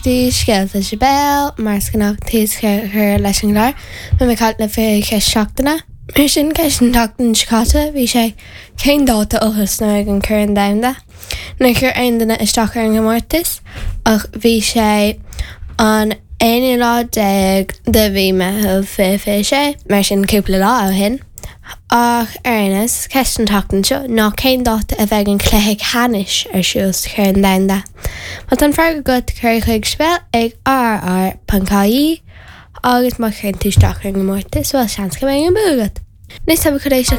Dtí Scéalta Sibéal, mar is gnách tús a chur leis an gclár, beidh mé ag caint libh faoi cheist seachtaine. Mar sin, ceist an tseachtain seo caite, bhí sé, cén dáta a thosnóidh an Corn Domhanda? Níor chuir aon duine isteach ar an gcomórtas, ach bhí sé an aonú lá déag de mhí Meitheamh 2026, mar sin cúpla lá ó shin. Ach ar aon nós, ceist an tseachtain seo ná cén dáta a bheidh an cluiche ceannais ar siúl sa Chorn Domhanda? Má tá an freagra agat, cuir é chuig sibéal ag rrr.ie agus má chuireann tú isteach ar an gcomórtas, bhuel, seans go mbeidh an bua agat! Anois tá muid chun éisteacht.